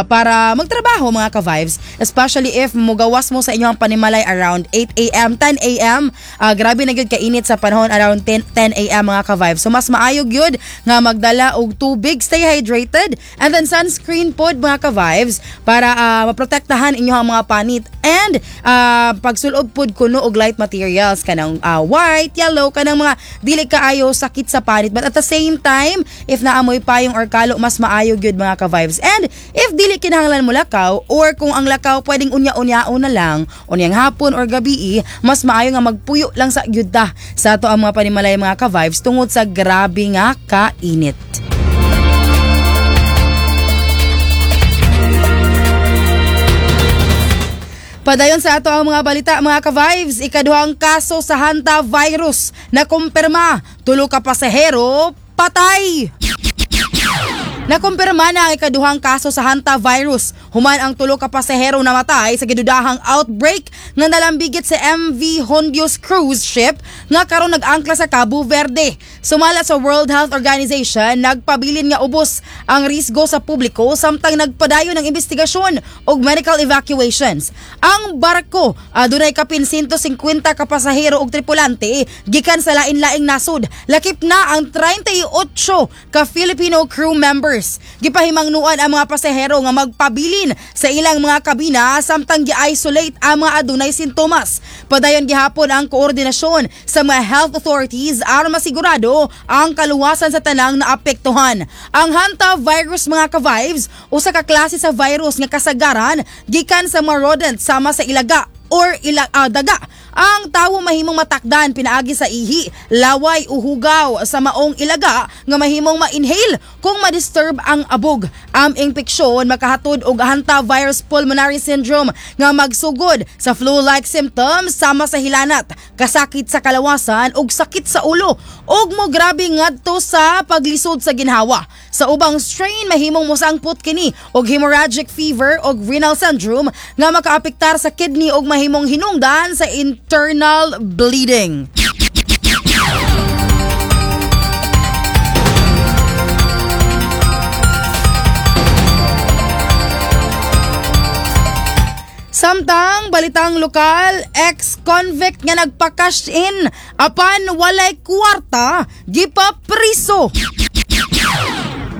para magtrabaho, mga ka-vibes, especially if mugawas mo sa inyong panimalay around 8 a.m., 10 a.m. Grabe na gyud kainit sa panahon around 10 a.m., mga ka-vibes. So mas maayo gyud nga magdala og tubig, stay hydrated, and then sunscreen pod, mga ka-vibes, para maprotektahan inyong mga panit and pagsulob pod kuno og light materials kanang white, yellow, kanang mga dili kaayo sakit sa panit, but at the same time, if naamoy payong or kalo, mas maayo gyud, mga ka-vibes. And if dili kinahanglan mo lakaw or kung ang lakaw pwedeng unya-unyaon na lang, unyang hapon or gabi, mas maayo nga magpuyo lang sa gyud ta sa ato ang mga panimalay, mga ka-vibes, tungod sa grabe nga kainit. Padayon sa ato ang mga balita, mga ka-vibes, ikaduhang kaso sa hanta virus na kumpirma, tulo ka pasahero patay. Nakumpirma na ang ikaduhang kaso sa hanta virus human ang tulo ka pasahero namatay sa gidudahang outbreak nga nalambigit sa MV Hondius cruise ship nga karon nag-angkla sa Cabo Verde. Sumala sa World Health Organization, nagpabilin nga ubos ang risgo sa publiko samtang nagpadayon ang investigasyon ug medical evacuations. Ang barko adunay kapin 150 ka pasahero ug tripulante gikan sa lain-laing nasod. Lakip na ang 38 ka Filipino crew members. Gipahimangnuan ang mga pasahero nga magpabilin sa ilang mga kabina samtang gi-isolate ang mga adunay sintomas. Padayon gihapon ang koordinasyon sa mga health authorities aron masigurado ang kaluwasan sa tanang naapektuhan. Ang hanta virus, mga ka-vibes, usa ka klase sa virus nga kasagaran gikan sa mga rodent sama sa ilaga or daga. Ang tawo mahimong matakdan pinaagi sa ihi, laway o hugaw sa maong ilaga nga mahimong ma-inhale kung ma-disturb ang abog. Ang impeksyon makahatod og hantavirus pulmonary syndrome nga magsugod sa flu-like symptoms sama sa hilanat, kasakit sa kalawasan ug sakit sa ulo ug mo grabe ngadto sa paglisod sa ginhawa. Sa ubang strain, mahimong mosangpot kini og hemorrhagic fever og renal syndrome nga makaapektar sa kidney ug mahimong hinungdan sa internal bleeding. Samtang balitang lokal, ex-convict nga nagpa-cash in apan walay kwarta, gipapriso.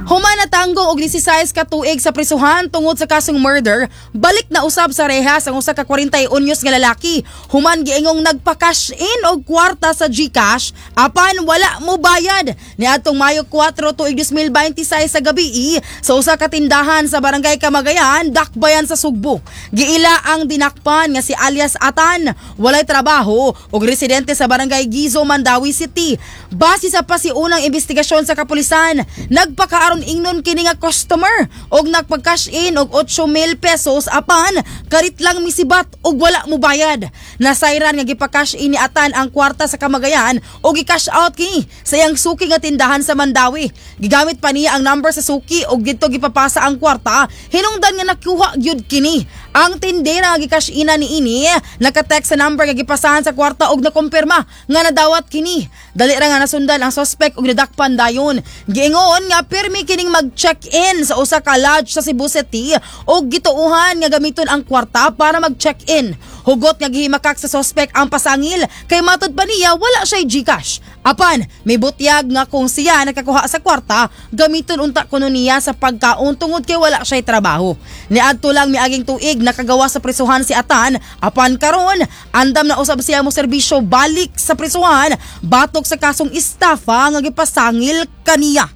Human natanggong og 16 ka tuig sa prisuhan tungod sa kasong murder, balik na usab sa rehas ang usa ka 41 anyos nga lalaki. Human giingong nagpa-cash in og kwarta sa GCash apan wala mo bayad. Niadtong Mayo 4 tuig 2026 sa gabi sa usa ka tindahan sa Barangay Kamagayan, Dakbayan sa Sugbo. Giila ang dinakpan nga si alias Atan, walay trabaho ug residente sa Barangay Gizo, Mandaue City. Base sa pasiunang investigasyon sa kapulisan, nagpakaaron ingnon kini nga customer og nagpag-cash in og 8,000 pesos apan karit lang misibat og wala mo bayad. Nasayran nga gipa-cash in ni Atan ang kwarta sa Kamagayan og gi-cash out kini sa iyang suki nga tindahan sa Mandaue. Gigamit pa niya ang number sa suki og didto gipapasa ang kwarta, hinungdan nga nakuha gyud kini. Ang tindera nga gi-cash ina ni ini naka-text sa number nga gipasahan sa kwarta og nakumpirma nga nadawat kini. Dali ra nga nasundan ang suspect og nadakpan dayon. Giingon nga pirmi kining mag-check-in sa usa ka lodge sa Cebu City og gituohan nga gamiton ang kwarta para mag-check-in. Hugot nga gihimakak sa suspect ang pasangil kay matud pa niya wala siya GCash. Apan may butyag nga kung siya nakakuha sa kwarta, gamiton unta kuno niya sa pagkaon tungod kay wala siya trabaho. Niadto lang miaging tuig nakagawa sa prisuhan si Atan, apan karon andam na usab siya mo serbisyo balik sa prisuhan batok sa kasong estafa nga gipasangil kaniya.